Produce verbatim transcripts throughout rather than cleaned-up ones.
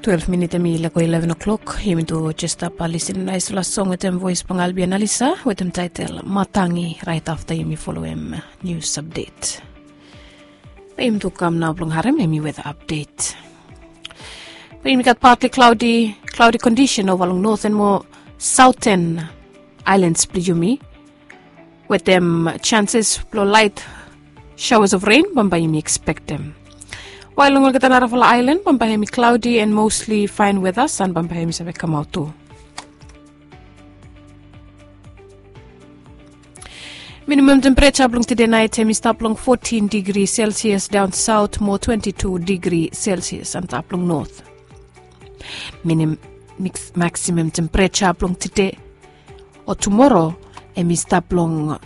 Twelef minit em i lego ileven o'klok. Yumi tu jes stap lisin naispela song wetem voes blong Albia Nalisa wetem taetel Matangi, raet afta yumi folem nius apdet. Be yumi tu kam nao blong harem em i weta apdet. Be yumi gat partli klaudi klaudi kondisen ova long noten mo saoten aelans blong yumi, wetem chanses blong laet shawas of ren bambae yumi ekspektem. Wael long olgeta narafala aelan bambae hem i klaudi en mosli faen weta, san bambae hem i save kamaot tu. Minimam tempereja blong tede naet hem i stap long fotin digri selsias daon saot mo twenti tu digri selsias antap long not. Minim maksimam tempereja blong tede o tumoro hem i stap long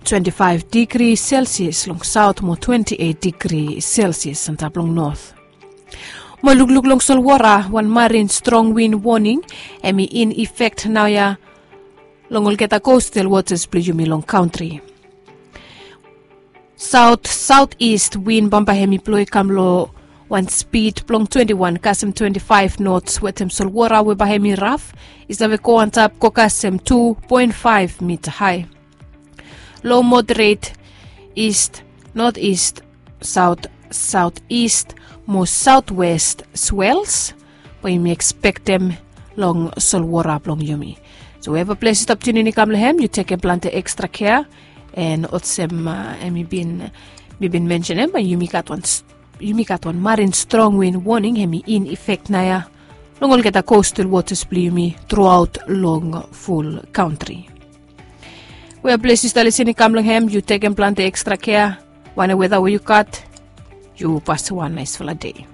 twenti faef digri selsias long saot mo twenti eit digri selsias antap long not. Mo lukluk long solwora, wan marin strong win woning hem i in efek naoia long olgeta kostal wotas blong yumi long kantri. Saot saot ist win bambae hem i blo i kam long wan spid blong twenti wan kasem twenti faef nots wetem solwora we bae hem i raf i save go antap go kasem tu poen faef mita hae. Lo moderet ist, not ist, saot saot ist mo saotwest swels, we yumi ekspektem long solwora blong yumi. So weva ples yu stap tiunin i kam long hem, yu tekem plante ekstra kea. En olsem hem i bin mi bin mensenem, yumi gat wan marin strong win woning hem i in efek naoia long olgeta kostal wotas blong yumi truaot long ful kantri. Weva ples yu stap lisin i kam long hem, yu tekem plante ekstra kea. Wanem weta we yu gat, yu pasem wan naesfala dei.